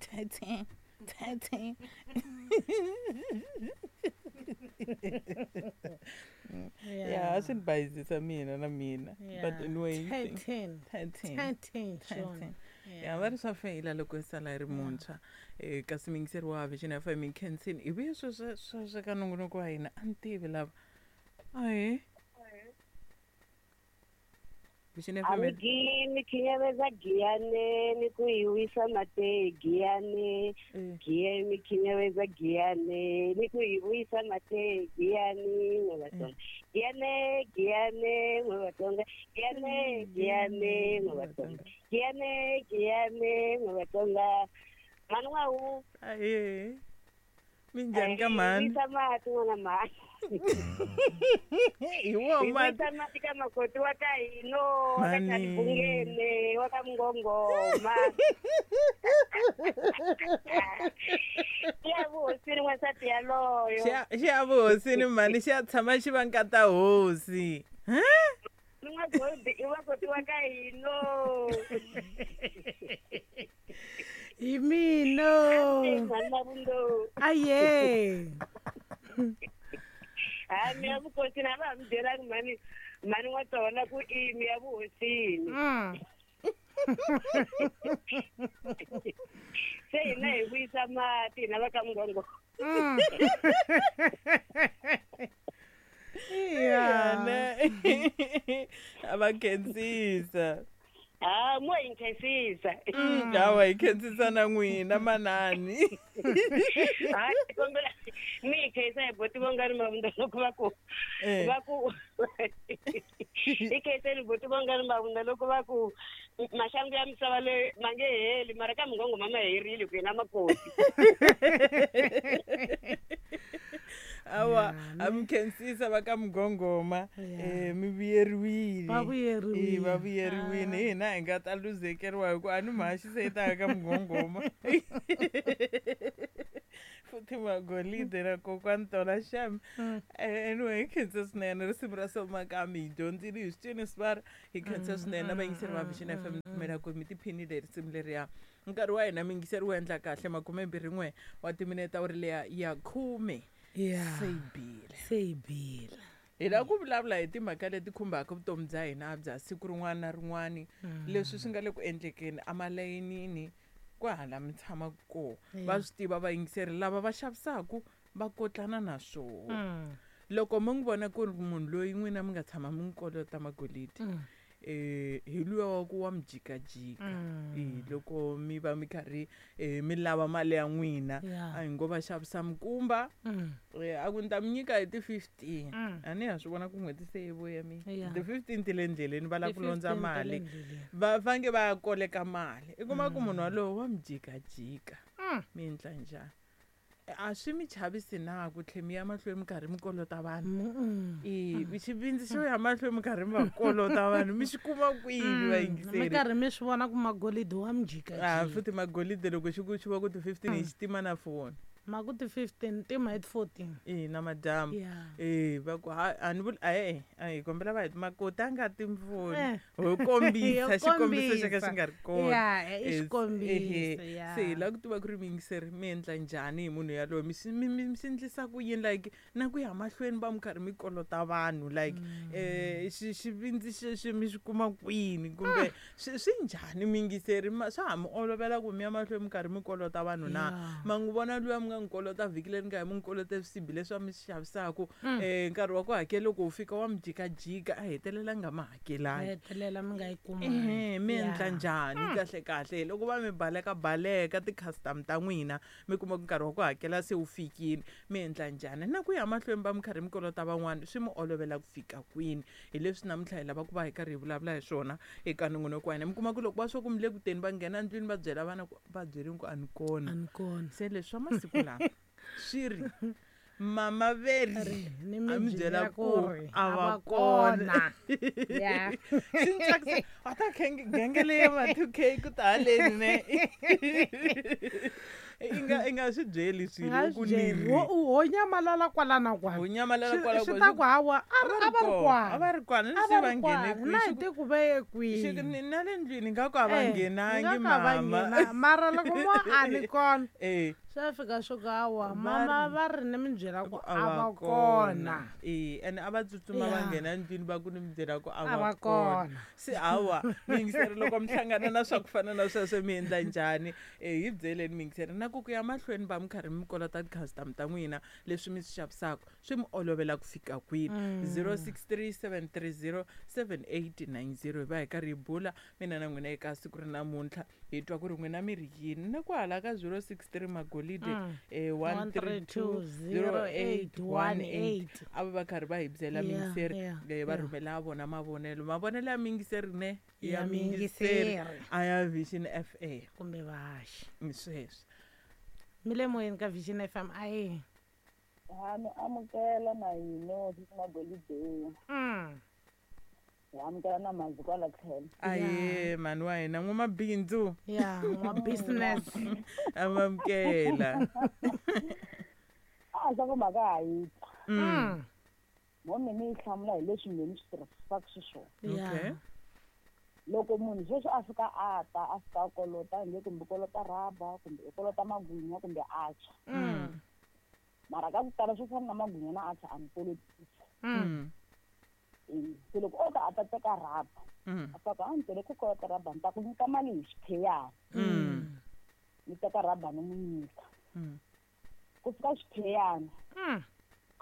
13 13. Ya, a swi ni bayizisa mina na mina, but anyway, 13. 13. 13, Sean. 13. Ya, va ri swa feyila loko i sala i ri muntshwa. Kasi muyingiseri wa Vision FM, hi khensini hi vuye sweswo sweswo ka nongonoko wa hina. A ni tivi lava ahe Vision A FM. mi gini khinyaveza giyane ni ku hi wisa mate giyane. Giye mi khinyaveza giyane ni ku hi wisa mate giyane n'we Vatsonga. Giyane giyane n'we Vatsonga. Giyane giyane n'we Vatsonga. Giyane giyane n'we Vatsonga. Mhani n'wahu. Ahe, minjhani ka mhani? Wisa mati n'wana mhani. Hi wo Hi mati. wisa mati ka makoti wa ka hino wa ka Mhani. Chalibungene wa ka Mngongoma. Ya vuhosini n'wansati yaloyo. Xi ya vuhosini mhani, xi ya tshama xi va nkata hosi. N'wagodi i makoti wa ka hino. Hi mina. Mhani Mavundo. Aye. Ha mi ya vukosini a va ha mi byelangi mhani mhani n'watona ku i mi ya vuhosini. Se hina hi vuyisa mati hina va ka Mngongoma. Yeah. Ne a va khensisa. Ha mo hi nkhensisa. Hawa, hi khensisa na n'wina manani. Ha kombela mi hi khensa hi boti Vongani Mavunda loko va ku va ku hi khenseni boti Vongani Mavunda loko va ku maxangu ya misava leyi ma nge heli, mara ka Mngongoma ma herile ku hina makoti. Awa, a mi khensisa va ka Mngongoma. Mi vuyeriwile. Va vuyeriwile. Va vuyeriwile. Hina hi nga ta luzekeriwa hi ku a ni mhaxi se yi ta ka Mngongoma. Futhi magolide na kokwani tona xem. Anyway, hi khensa swinene risimu ra Somakami, hi dyondzile hi swi cini swi hi khensa swinene na vayingiseri va Vision FM, pfumela ku mi tiphinile hi risimu leriya. Nkarhi wa hina miyingiseri wu endla kahle 21 wa timinete wu ri leya ya 10. Se yi bile. Se yi bile. Hi lava ku vulavula hi timhaka leti khumbaka vutomi bya hina bya siku rin'wana na rin'wana, leswi swi nga le ku endlekeni emalayinini kwahala mi tshamaka kona. Va swi tiva vayingiseri lava va xavisaka va kotlana na swona. Loko mi n'wi vona ku ri munhu loyi n'wina mi nga tshama mi n'wi kolota magolidi, hi luya wa ku wa mi jikajika. Loko mi va mi karhi mi lava mali ya n'wina, a hi ngo va xavisa mikumba, a ku ni ta mi nyika hi ti-15. A ni ha swi vona ku n'hweti se yi vuya mi ti-15 ti le ndleleni, va lava ku londza mali, va fange va ya koleka mali. I kuma ku munhu walowo wa mi jikajika, mi endla njhani? A swi mi chavisi na ku tlhe mi ya mahlweni mi karhi mi kolota vanhu? Xivindzi xo ya mahlweni mi karhi mi va kolota vanhu mi xi kuma kwini vayingiseri? Mi karhi mi swi vona ku magolidi wa mi jikajika. Futhi magolidi loko xi ku xi va ku ti-15 hi xitima na foni. Ma ku ti-15 tima hi ti-14. Na madyambu. Va ku a ni vuli a hi kombela va hi makoti a nga timfoni. Ho kombisa xikombiso xa ka xi nga ri kona. I xikombiso. Se hi lava ku tiva ku ri miyingiseri mi endla njhani hi munhu yaloye, mi swi endlisa ku yini, like na ku ya mahlweni va mi karhi mi kolota vanhu, like xivindzi xexi mi xi kuma kwini, kumbe swi njhani miyingiseri, swa ha mi olovela ku mi ya mahlweni mi karhi mi kolota vanhu na? Ma n'wi vona luya mi nga n'wi kolota vhiki leri nga hi mi n'wi kolota swisibi leswi va mi swi xavisaka, nkarhi wa ku hakela loko wu fika wa mi jikajika, a hetelela nga ma hakelangi. Hetelela mi nga yi kumanga. Mi endla njhani kahle kahle loko va mi baleka baleka ti-custom ta n'wina, mi kuma ku nkarhi wa ku hakela se wu fikile, mi endla njhani? Na ku ya mahlweni va mi karhi mi kolota van'wani, swi mi olovela ku fika kwini? Hi leswi namuntlha hi lava ku va hi karhi hi vulavula hi swona eka nongonoko wa hina. Mi kuma ku loko va swa ku mi le ku teni, va nghena ndlwini va byela vana ku va byeleni ku a ni kona. A ni kona. Se leswi swa masiku lama swi ri Mama veri Ni a mi mi byela byela ku ku ri a a va va kona. kona. Yeah. Swi ni tsakisa a ta genge leyi ya ma 2K ku ta haleni ne. I nga swi byeli swilo Nga ku swi ni byeli. ri. Ho nyamalala kwala na kwala. Ho nyamalala kwala Swi kwala. ta ku hawa a A a va ri kona, a va kwala. ri kwana ni A se va va ri nghene kwala. kwihi. Na Xi hi ku- ti ku ve ye xi ku kwihi. na le ndlwini nga ku a va Eh, nghenangi nga ka va mama. nghena. Mara loko mo a ni kona Eh. swa fika swo ku hawa Va mama ri- va ri ni mi byela ku a a va va kona. E ene a va tsutsuma va Yeah. nghena ndlwini va ku ni mi byela ku a A va va kona. kona. Se hawa miyingiseri loko mi hlangana na swa ku fana na sweswo mi endla njhani? Hi byeleni miyingiseri na ku ku ya mahlweni va mi karhi mi kolota ti-customer ta n'wina leswi mi swi xavisaka swi mi olovela ku fika kwini. 0637307890 hi va hi karhi hi bula mina na n'wina eka siku ri namuntlha hi twa ku ri n'wina mi ri yini na ku hala ka 063 magolide 1320818 a va va karhi va hi byela miyingiseri va rhumela vona mavonelo mavonelo ya miyingiseri ne ya Ya miyingiseri miyingiseri. a ya Vision FA Kumbe vahaxi. Ni sweswo. Mi le moyeni ka Vision FM a yi. Ha mi amukela na hina sisi Magolide. Hi amukela na mhandzi kwala tlhelo. Aye mhani wa hina n'wamabindzu. Yeah, n'wa business. Amamukela. A swa ku mhaka ha yi twa. Mo mina yi hlamula hi leswi mina ni swi tirhisaka xiswona. Okay. Loko munhu sweswi a fika a ta a fika a kolota nge kumbe kolota rhaba kumbe i kolota magwinya kumbe a tshwa. Mara ka ku tala swo fana na magwinya na a tshwa a ni kolotisi. Se loko o ta a ta teka rhaba a fika a ni tele ku kolota rhaba ni ta ku nyika mali hi xipheyana. Ni teka rhaba ni n'wi nyika. Ku fika xipheyana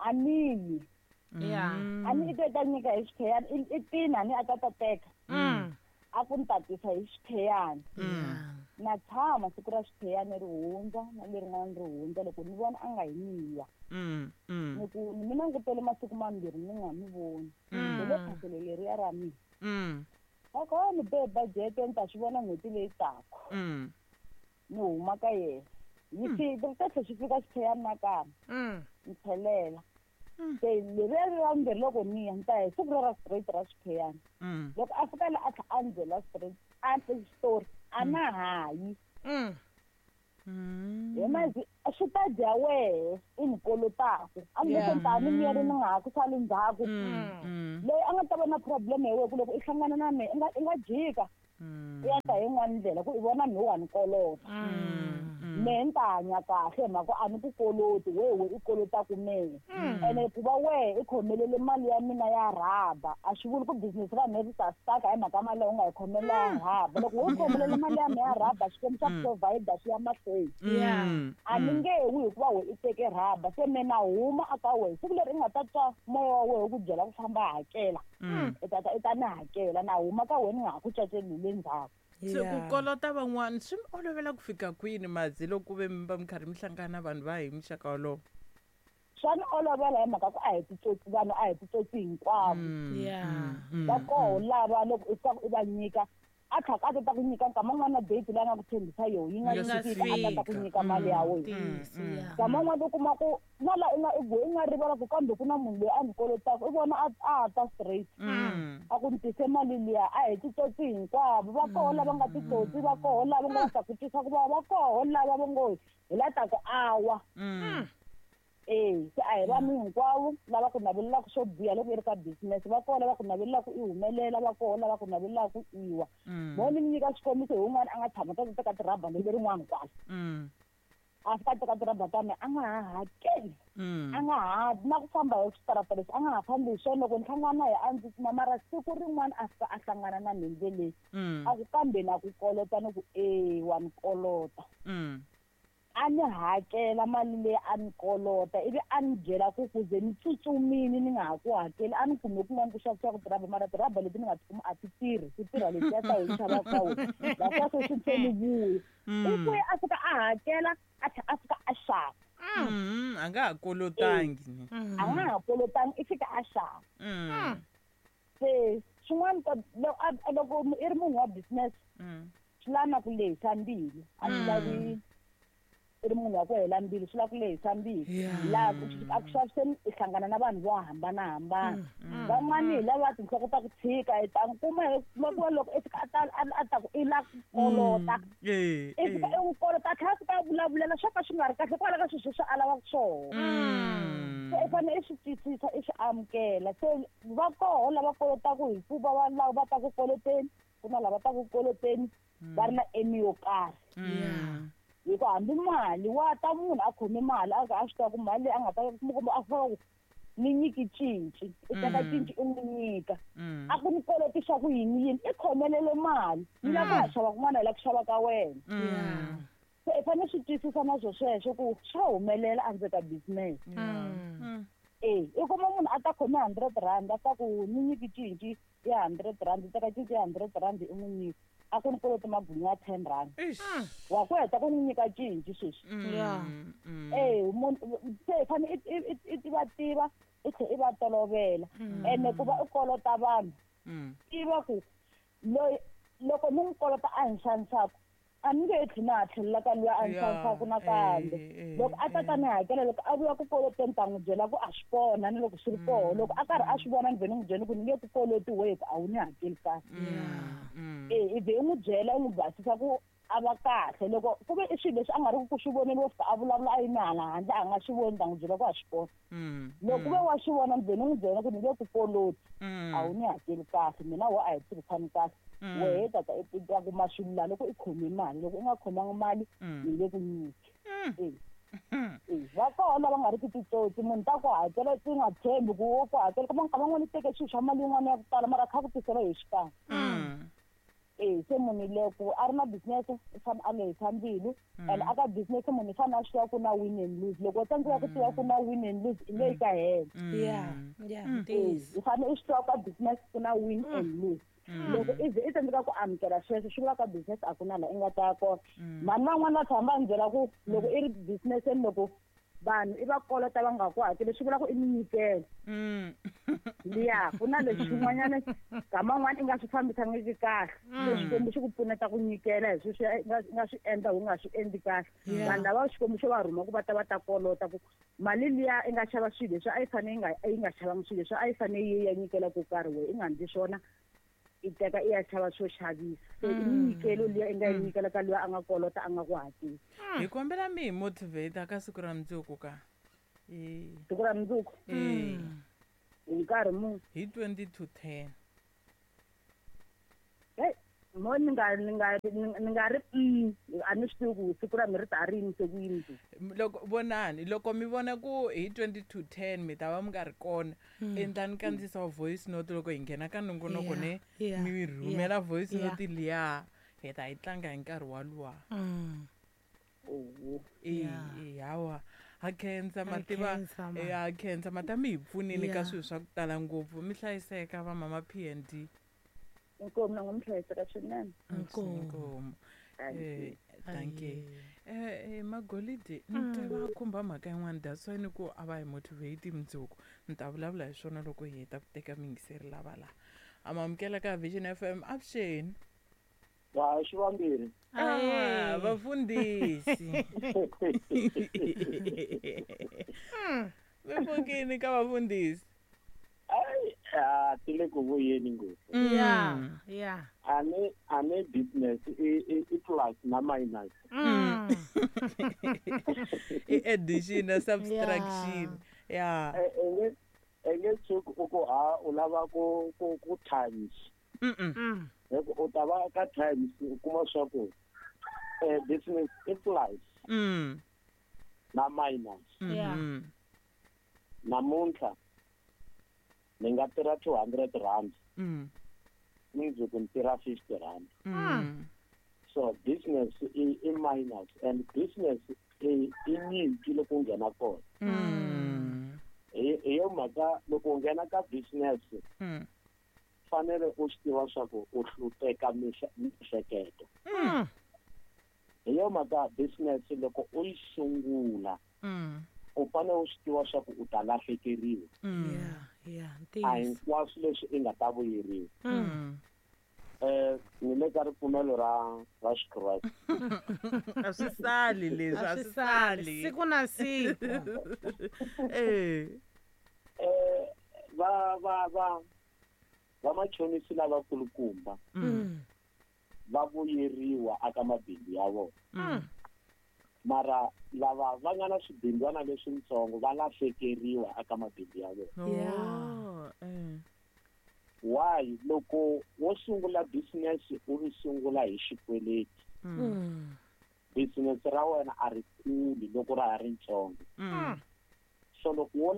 a ni yi. A ni i ta nyika hi xipheyana i tina ni a ta ta teka. A ku ni tatisa hi xipheyana. Na tshama siku ra xipheyana ri hundza na lerin'wana ri hundza loko ni vona a nga hi niya. Ni ku ni mina langutele masiku mambirhi ni nga mi voni. Hi le phaselo leriya ra mina. Va ku ni be budget ni ta swi vona n'hweti leyi taka. Ni huma ka yena. Yi fika ri ta tlhela xi fika xipheyana nakambe. Ni tlhelela. Se leriya ra vumbirhi loko ni ya ni ta hi siku ra straight ra xipheyana. Loko a fika la a tlhela a ni byela straight a xitori a na ha yi. Hi mazi swi ta dya wehe i ni kolotaka. A ni loko ni ta ni miyeri ni nga ha ku sali ndzhaku. Leyi a nga ta va na problem hi wehe ku loko i hlangana na mehe i nga jika. I ya ta hi yin'wana ndlela ku i vona mehe wa ni kolota. Mehe ni ta hanya kahle hi mhaka a ni ku koloti wehe i kolotaku mehe. Ene ku va wehe i khomelele mali ya mina ya rhaba a swi vuli ku business ra mehe ri ta stuck hi mhaka mali leyi u nga yi khomelela ya rhaba. Loko wo khomelele mali ya mehe ya rhaba Xikwembu xa provide swi ya mahlweni. A ni nge wi hikuva wehe i teke rhaba se mehe na huma aka wehe siku leri i nga ta twa moya wa wehe ku byela ku famba hakela. I ta ta i ta ni hakela na huma ka wehe ni nga ha ku caceli hi le ndzhaku. Se ku kolota van'wana swi mi olovela ku fika kwini Madzi loko ku ve mi va mi karhi mi hlangana vanhu va hi muxaka wolowo? Swa ni olovela hi mhaka ku a hi titsotsi vanhu a hi titsotsi hinkwavo. Va koho lava loko i fika i va nyika a tlhaka a ta ku nyika nkama wun'wana na date leyi a nga ku tshembisa yoho yi nga Yi fika a ta ta ku nyika mali ya wena. Nkama wun'wana u kuma ku na la i nga rivala ku kambe ku na munhu loyi a ni kolotaka i vona a ta straight. A ku ni tise mali liya a hi titsotsi hinkwavo. Va koho lava nga titsotsi va koho lava nga ta ku twisa ku vava va koho lava va ngo hi la ta ku awa. Se a hi vanhu hinkwavo lava ku navelelaka swo biha loko i ri ka business va koho lava ku navelelaka i humelela va koho lava ku navelelaka i wa. Mo ni mi nyika xikombiso hi wun'wana a nga tshama ta teka tirhaba lembe rin'wana kwala. A fika a teka tirhaba ta mina a nga ha hakeli. A nga ha na ku famba hi switarata leswi a nga ha fambi hi swona loko ni hlangana na yena a ndzi kuma mara siku rin'wana a fika a hlangana na mina ndleleni. A ku kambe na ku kolota ni ku e wa ni kolota. A ni hakela mali leyi a ni kolota ivi a ni byela ku kuze ni tsutsumile ni nga ha ku hakeli a ni kume kun'wana ku xavisiwaka tirhaba mara tirhaba leti ni nga ti kuma a ti tirhi ti tirha letiya ta hi xavaka ka wena la sweswi se ni vuya. I vuya a fika a hakela a tlhela a fika a xava. A nga ha kolotangi ni. A nga ha kolotangi i fika a xava. Se swin'wana loko i ri munhu wa business swi lava na ku lehisa mbilu a swi lavi i ri munhu wa ku hela mbilu swi lava ku lehisa mbilu laha a ku xaviseni i hlangana na vanhu vo hambanahambana van'wani hi lava tinhloko ta ku tshika i ta n'wi kuma ku loko i fika a ta ku i la ku kolota i fika i n'wi kolota a tlhela a fika a vulavulela swo ka swi nga ri kahle kwala ka swilo sweswi a lavaka swona se i fanele i swi twisisa i swi amukela se va koho lava kolotaka hikuva va lava va ta ku koloteni ku na lava ta ku koloteni va ri na aim yo karhi hi ku hambi mali wa ta munhu a khome mali a a swi tiva ku mali leyi a nga ta kuma a fika ku ni nyiki cinci i teka cinci i n'wi nyika a ku ni koloti xa ku yini yini i khomelele mali ni lava ku ya xava kun'wana hi la ku xava ka wena se i fanele swi twisisa na swo sweswo ku swa humelela endzeni ka business e i kuma munhu a ta khome R100 a ta ku ni nyiki cinci ya R100 i teka cinci ya R100 i n'wi nyika a ku ni koloti magwinya ya R10 wa ku heta ku n'wi nyika cinci sweswi e munhu se i fanele i va tiva i tlhela i va tolovela ene ku va i kolota vanhu tiva ku loyi loko ni n'wi kolota a ni xanisaka a ni nge tlheli na ha tlhelela ka luya a ni xanisaka nakambe loko a ta ta ni hakela loko a vuya ku koloteni ta n'wi byela ku a swi kona ni loko swi ri koho loko a karhi a swi vona ni vhe ni n'wi byela ku ni nge ku koloti wehe ku a wu ni hakeli kahle e i vhe i n'wi byela i n'wi basisa ku a va kahle loko ku ve i swilo leswi a nga ri ku swi voneni wo fika a vulavula a yime hala handle a nga swi voni ta n'wi byela ku a swi kona loko ku ve wa swi vona ni vhe ni n'wi byela ku ni nge ku koloti a wu ni hakeli kahle mina wo a hi tirhisani kahle wehe tata i ta kuma swilo laha loko i khome mali loko u nga khomanga mali ni nge ku nyiki va koho lava nga ri ki titsotsi munhu ta ku hakela ti nga tshembi ku wo ku hakela kuma nkama n'wana i teke swilo swa mali yin'wana ya ku tala mara a kha ku tisela hi xikan'we se munhu loko a ri na business i fanele a lehisa mbilu and aka business munhu i fanele a swi tiva ku na win and lose loko u tsandzeka ku tiva ku na win and lose i nge yi ka hela i fanele i swi tiva ka business ku na win and lose loko i ze i tsandzeka ku amukela sweswo swi vula ka business a ku na laha i nga ta ya kona mhani van'wana va tshama va ni byela ku loko i ri businesseni loko vanhu i va kolota va nga ku hakeli swi vula ku i minyikelo liya ku na leswi swin'wanyana nkama n'wana i nga swi fambisangiki kahle se Xikwembu xi ku pfuneta ku nyikela hi sweswi i nga swi endla u nga swi endli kahle vanhu lava Xikwembu xo va rhuma ku va ta va ta kolota ku mali liya i nga xava swilo leswi a yi fanele yi nga xavanga swilo leswi a yi fanele yi ya nyikela ko karhi wehe i nga ndli swona i teka i ya xava swo xavisa se i minyikelo liya i nga yi nyikela ka luya a nga kolota a nga ku hakeli hi kombela mi hi motivate ka siku ra mundzuku ka siku ra mundzuku hi nkarhi muni hi 9:40 hey mo ni nga ri a ni swi tivi ku siku ra mi ri ta rini se ku yini loko vonani loko mi vona ku hi 9:40 mi ta va mi nga ri kona endlani kandziyisa wa voice note loko hi nghena ka nongonoko ne mi rhumela voice note liya hi ta yi tlanga hi nkarhi waluwa hawa ha khensa mativa ha khensa mata mi hi pfunile ka swilo swa ku tala ngopfu mi hlayiseka va mama P&D inkomu na n'wi hlayiseka swinene inkomu thank you magolidi ni twa va khumba mhaka yin'wana that's why ni ku a va hi motivate mundzuku ni ta vulavula hi swona loko hi heta ku teka miyingiseri lava laha amamukela ka Vision FM avuxeni wa xivambirhi vafundhisi mi pfukini ka vafundhisi ti le ku vuyeni ngopfu a ni business i plus na minus i addition na subtraction ya e nge tshuki u ku ha u lava ku times u ta va ka times u kuma swa ku business i plus na minus namuntlha ni nga tirha R200 mundzuku ni tirha R50 so business i minus and business i nyimpi loko u nghena kona hi yo mhaka loko u nghena ka business fanele u swi tiva swa ku u hluteka miehleketo hi yo mhaka business loko u yi sungula u fanele u swi tiva swa ku u ta lahlekeriwa a hinkwaswo leswi i nga ta vuyeriwa Ni le ka ripfumelo ra Xikreste. A swi sali leswi, a swi sali. Siku na siku. Va va va vamachonisi lavakulukumba va vuyeriwa aka mabindzu ya vona. Mara lava va nga na swibindzwana leswintsongo va lahlekeriwa aka mabindzu ya vona. Why? Loko wo sungula business u ri sungula hi xikweleti, business ra wena a ri kuli loko ra ha ri ntsongo. So loko wo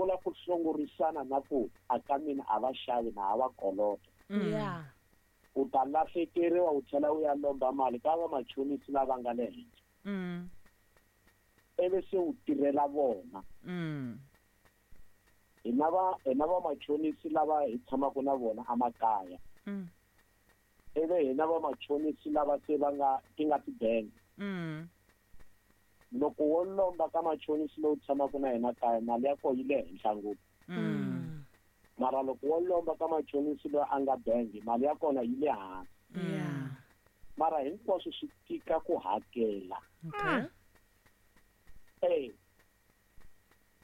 la ku hlongorisana na ku aka mina a va xavi na ha va kolota, u ta lahlekeriwa u tlhela u ya lomba mali ka vamachonisi lava nga le henhla. Ivi se u tirhela vona. Hina vamachonisi lava hi tshamaka na vona emakaya. Ivi hina vamachonisi lava se va nga ti nga tibangi. Loko wo lomba ka machonisi lowu tshamaka na yena kaya, mali ya kona yi le henhla ngopfu. Mara loko wo lomba ka machonisi loyi a nga bangi, mali ya kona yi le hansi. Mara hinkwaswo swi tika ku hakela.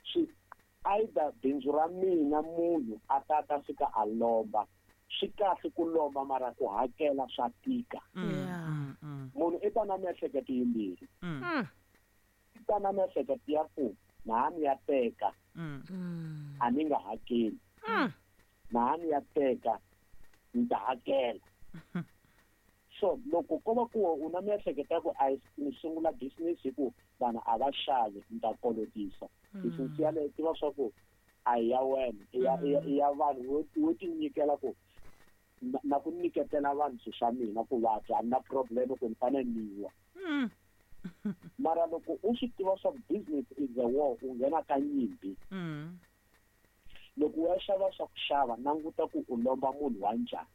Swi either bindzu ra mina munhu a ta fika a lomba. Swi kahle ku lomba mara ku hakela swa tika. Munhu i ta na miehleketo yimbirhi. I ta na miehleketo ya ku na ni ya teka, a ni nga hakeli. Na ni ya teka, ni ta hakela. So loko ko va ku u na miehleketo ya ku a ni sungula business hi ku vanhu a va xavi, ni ta kolotisa. Business yaleyo tiva swa ku a hi ya wena, i ya vanhu wo ti nyikela ku na ku nyiketela vanhu swilo swa mina ku va dya, a ni na problem ku ni fanele ni wa. Mara loko u swi tiva swa business is a war, u nghena ka nyimpi. Loko u ya xava swa ku xava, languta ku u lomba munhu wa njhani.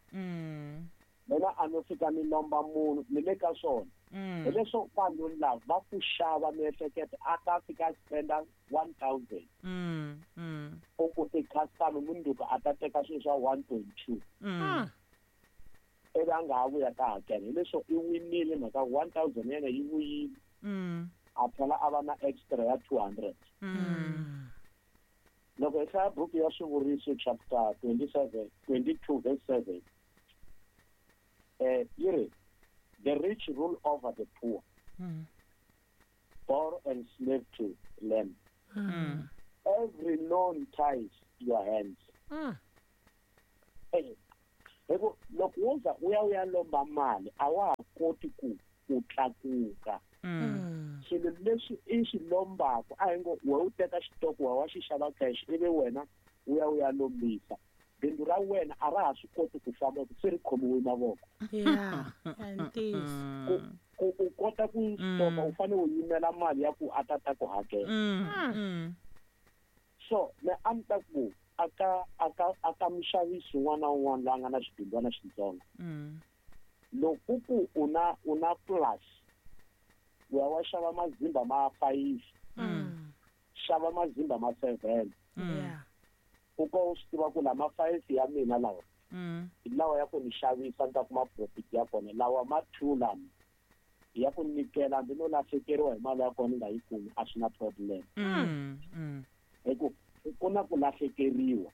Mina a no fika ni lomba munhu, ni le ka swona. Hileswo vanhu lava va ku xava miehleketo a ta fika a spenda 1,000. U ku ti-customer mundzuku a ta teka swilo swa 1.2. Ivi a nga ha vuya ka hakela. Hileswo i winile mhaka 1,000 yena yi vuyile. A tlhela a va na extra ya 200. Loko hi hlaya buku ya Swivuriso chapter 22 verse 7, yi ri, the rich rule over the poor, borrow and slave to lend. Every loan ties your hands. Loko wo za u ya lomba mali, a wa ha koti ku tlakuka. Swilo leswi i swi lombaka, a hi ngo we u teka xitoko wa xi xava cash, ivi wena u ya lombisa. Bindzu ra wena a ra ha swi koti ku famba se ri khomiwe mavoko. Ku u kota ku stoka, u fanele u yimela mali ya ku a ta ta ku hakela. So me a ni ta ku aka muxavisi un'wana na un'wana loyi a nga na xibindzwana xitsongo. Loko ku u na plus, u ya wa xava mazimba ma 5, xava mazimba ma 7. U ko u swi tiva ku lama 5 ya mina lawa hi lawa ya ku ni xavisa ni ta kuma profit ya kona, lawa ma 2 lama ya ku nyikela ndzi no lahlekeriwa hi mali ya kona ni nga yi kumi, a swi na problem. Hi ku ku na ku lahlekeriwa.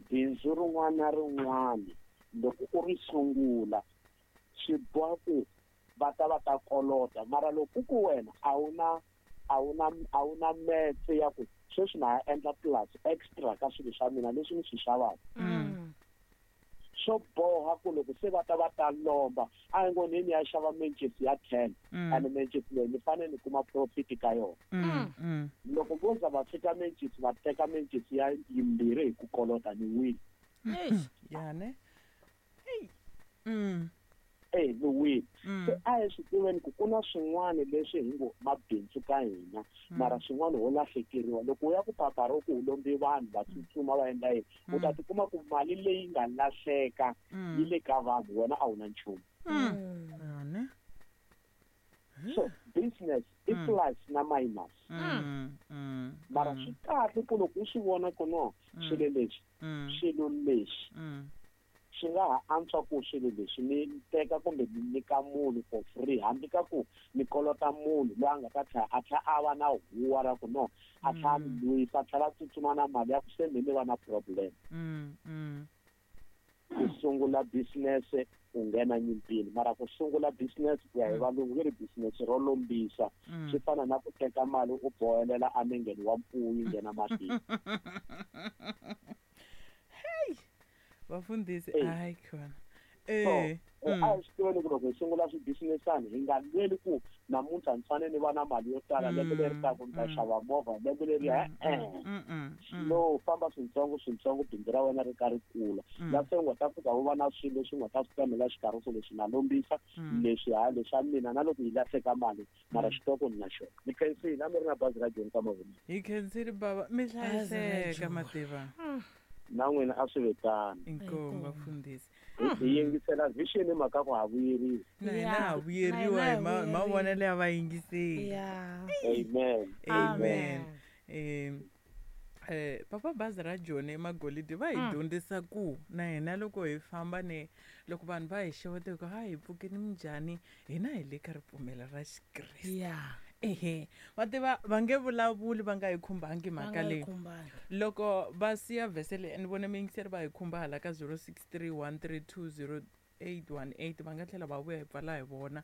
Bindzu rin'wana na rin'wana loko u ri sungula swi boha ku va ta kolota, mara loko ku wena a wu na metse ya ku sweswi na ha endla plus extra ka swilo swa mina leswi ni swi xavaka. Swo boha ku loko se va ta lomba, a hi ngo ni ya xava mencisi ya 10, and mencisi leyi ni fanele ni kuma profit ka yona. Loko vo za va fika mencisi va teka mencisi ya yimbirhi hi ku kolota, ni wile. Ni wile. Se a hi swi tiveni ku ku na swin'wana leswi hi ngo mabindzu ka hina, mara swin'wana ho lahlekeriwa. Loko u ya ku papara ku u lombi vanhu va tsutsuma va endla yini, u ta tikuma ku mali leyi nga lahleka yi le ka vanhu, wena a wu na nchumu. So business i plus na minus. Mara swi kahle ku loko u swi vona ku no swilo leswi, swilo leswi Swi nga ha antswa ku swilo leswi ni teka kumbe ni nyika munhu for free, hambi ka ku ni kolota munhu loyi a nga ta tlhela a tlhela a va na huwa ra ku no, a tlhela a ni lwisa, a tlhela a tsutsuma na mali ya ku se me ni va na problem. Ku sungula business u nghena nyimpini, mara ku sungula business ku ya hi valungu ve ri business ro lombisa, swi fana na ku teka mali u bohelela enengeni wa mfuwo yi nghena matini. Vafundhisi, hayi khona. So a hi swi tiveni ku loko hi sungula swibusinessani hi nga lweli ku namuntlha ni fanele ni va na mali yo tala, lembe leri taka ni ta xava movha, lembe leri slow, famba swintsongo swintsongo, bindzu ra wena ri ka ri kula. La se u nga ta fika u va na swilo leswi u nga ta swi pemela xikarhi ku leswi na lombisa, leswi ha leswa mina, na loko yi lahleka mali mara xitoko ni na xona. Ni khensile, a mi ri na bazi ra Joni ka mavonelo. Hi khensile baba, mi hlayiseka mativa. Na n'wina a swi ve tano. Inkomu vafundhisi. Hi yingisela vision hi mhaka ku ha vuyeriwa. Na hina ha vuyeriwa hi mavonelo ya vayingiseri. Amen. Amen. Papa bazi ra Joni emagolidi va hi dyondzisa ku na hina loko hi famba ne loko vanhu va hi xeweta ku ha hi pfukeni minjhani, hina hi le ka ripfumelo ra Xikreste. Ehe, va tiva va nge vulavuli va nga hi khumbangi mhaka leyi. Loko va siya vhese leyi ni vone miyingiseri va hi khumba hala ka 0631320818, va nga tlhela va vuya hi pfala hi vona.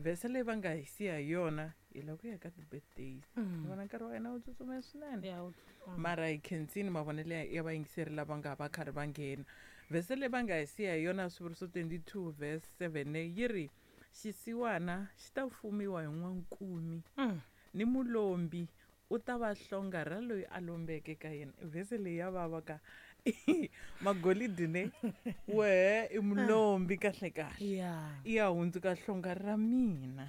Vhese leyi va nga hi siya hi yona hi lava ku ya ka ti-birthdays. Ni vona nkarhi wa hina wu tsutsuma swinene. Mara hi khensini mavonelo ya vayingiseri lava nga va karhi va nghena. Vhese leyi va nga hi siya hi yona Swivuriso 22 verse 7 yi ri xisiwana xi ta fumiwa hi n'wankumi ni mulombi u ta va hlonga ra loyi a lombeke ka yena. Vhese leyi ya vava ka magolidi ne wehe i mulombi kahle kahle, i ya hundzuka hlonga ra mina.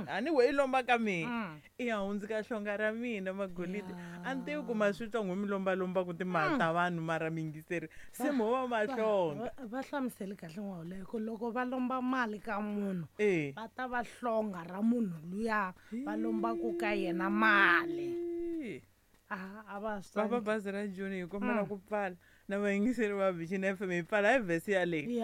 A ni we i lomba ka mina, i ya hundzuka hlonga ra mina magolidi. A ni tivi ku ma swi twa n'we mi lombalombaku timali ta vanhu, mara miyingiseri se mo va mahlonga. Va hlamuseli kahle n'waholeko, loko va lomba mali ka munhu va ta va hlonga ra munhu luya va lombaku ka yena mali. A va swi Papa bazi ra Joni hi kombela ku pfala na vayingiseri va Vision FM hi pfala hi vhesi yaleyi.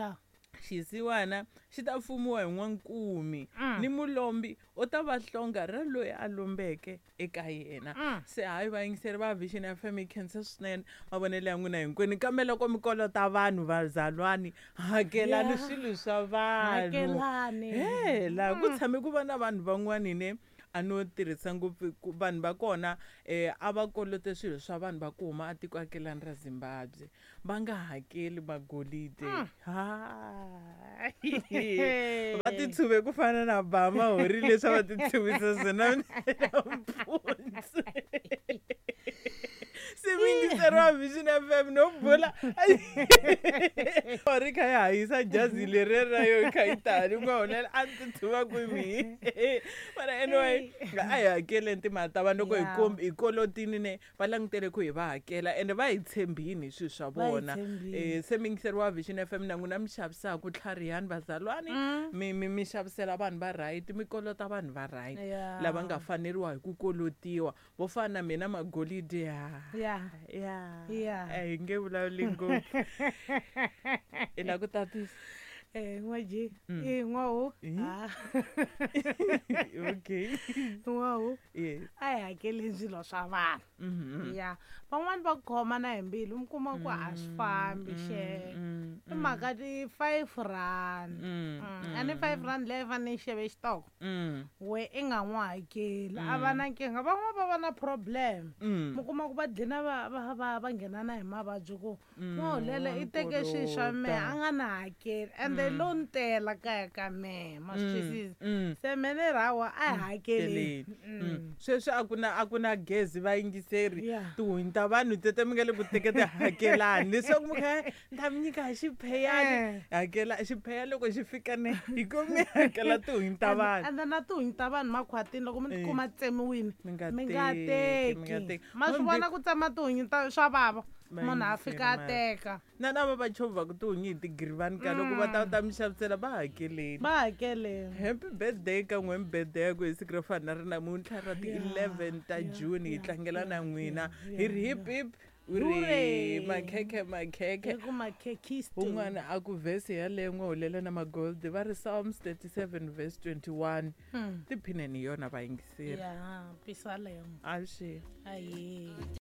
Xisiwana xi ta fumiwa hi n'wankumi ni mulombi u ta va hlonga ra loyi a lombeke eka yena. Se hayi vayingiseri va Vision FM hi khensa swinene mavonelo ya n'wina hinkwenu, kambe loko mi kolota vanhu vazalwani hakelani swilo swa vanhu. He laha ku tshame ku va na vanhu van'wani ne a no tirhisa ngopfu vanhu va kona a va kolote swilo swa vanhu va ku huma atiko akelani ra Zimbabwe, va nga hakeli magolide. Va titshuve ku fana na Bama hori leswi a va titshuvisa swona nampundzu. Se miyingiseri wa Vision FM no bula ri kha yi hahisa jazi leri ra yo yi kha yi tani ku nga hulela a ni titshuva kwihi. Mara anyway a hi hakeleni timali ta vanhu loko hi kolotini ne va langutele ku hi va hakela ende va hi tshembini hi swilo swa vona. Se miyingiseri wa Vision FM na n'wina mi xavisaka tlharihani vazalwani, mi xavisela vanhu va right, mi kolota vanhu va right lava nga faneriwa hi ku kolotiwa. Vo fana na mina magolidi ya. A hi nge vulavuli ngopfu. I lava ku tatisa? N'waji. N'wahu. Okay. N'wahu. A hi hakeleni swilo swa vanhu. Van'wani va khoma na hi mbilu, mi kuma ku a swi fambi xe. I mhaka ti 5 rand. A ni 5 rand leyi fanele yi xave xitoko. We i nga n'wi hakeli, a va na nkingha. Van'wani va va na problem. Mi kuma ku va dlina va nghena na hi mavabyi ku n'wahulela i teke swilo swa mehe a nga na hakeli, ende lo ni tela kaya ka mehe, ma swi twisisa. Se me ni ri hawa a hi hakeleni. Sweswi a ku na gezi vayingiseri, tihunyi ta vanhu tete mi nga le ku teke ti hakelani leswaku mi kha ni ta mi nyika hi xipheyani, hakela xipheya loko xi fika ne hi ku mi hakela tihunyi ta vanhu. Ende na tihunyi ta vanhu makhwatini loko mi tikuma tsemiwini, Mi nga mi nga teki, mi nga teki. teki. Ma swi vona ku tsema tihunyi ta swa vava, munhu a fika a teka. Na lava va chovhaka tihunyi hi tigirivani ka loko va ta ta mi xavisela va hakeleni. Va hakeleni. Happy birthday ka n'we birthday ya ku hi siku ro fana na ri namuntlha ra ti 11 ta June hi tlangela na n'wina. Hi ri hip hip. U ri Hure. makhekhe makhekhe. Hi ku makhekhisto. Un'wana a ku vhesi yaleyo n'wahulela na magold va ri Psalms 37 verse 21. Tiphineni hi yona vayingiseri. Ya, pisalema. Avuxeni. Aye.